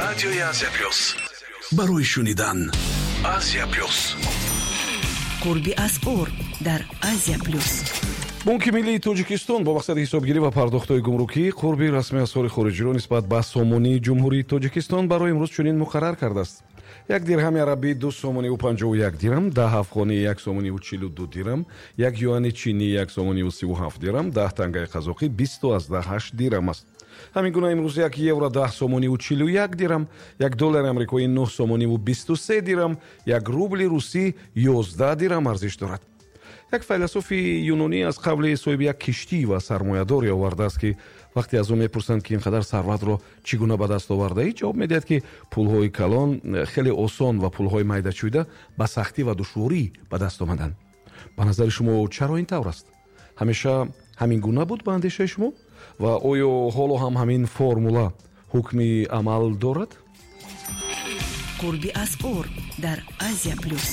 Радиои Азия Плюс барои шунидан. Азия Плюс. Қурби асъор дар Азия Плюс. Бонки миллии Тоҷикистон бо мақсади ҳисобгирӣ ва пардохтҳои гумрукӣ қурби расмии асъори хориҷиро нисбат ба сомонии Ҷумҳурии Тоҷикистон барои имрӯз чунин муқаррар кардааст: як дирҳами арабӣ 2 сомониву 51 дирам, 10 афғонӣ 1 сомониву 42 дирам, як юани чинӣ 1 сомониву 37 дирам, 10 тангаи қазоқӣ 20,8 дирам аст. Ҳамин гуна имрӯз як евро 10 сомониву 41 дирам, як доллари амрикоӣ 9 сомониву 23 дирам, як рубли русӣ 11 дирам арзиш дорад. Як файласуфи юнонӣ аз қавли соҳиби як киштӣ ва сармоядоре овардааст, ки вақте аз ӯ мепурсанд, ки ин қадар сарватро чӣ гуна ба даст овардаӣ, ҷавоб медиҳад, ки пулҳои калон хеле осон ва пулҳои майдачӯйда ба сахтӣ ва душворӣ ба даст омаданд. Ба назари шумо, чаро ин тавр аст? Ҳамеша ҳамин гуна буд, ба андешаи шумо, ва оё ҳоло ҳам ҳамин формула ҳукми амал дорад? Қурби асъор дар Азия Плюс.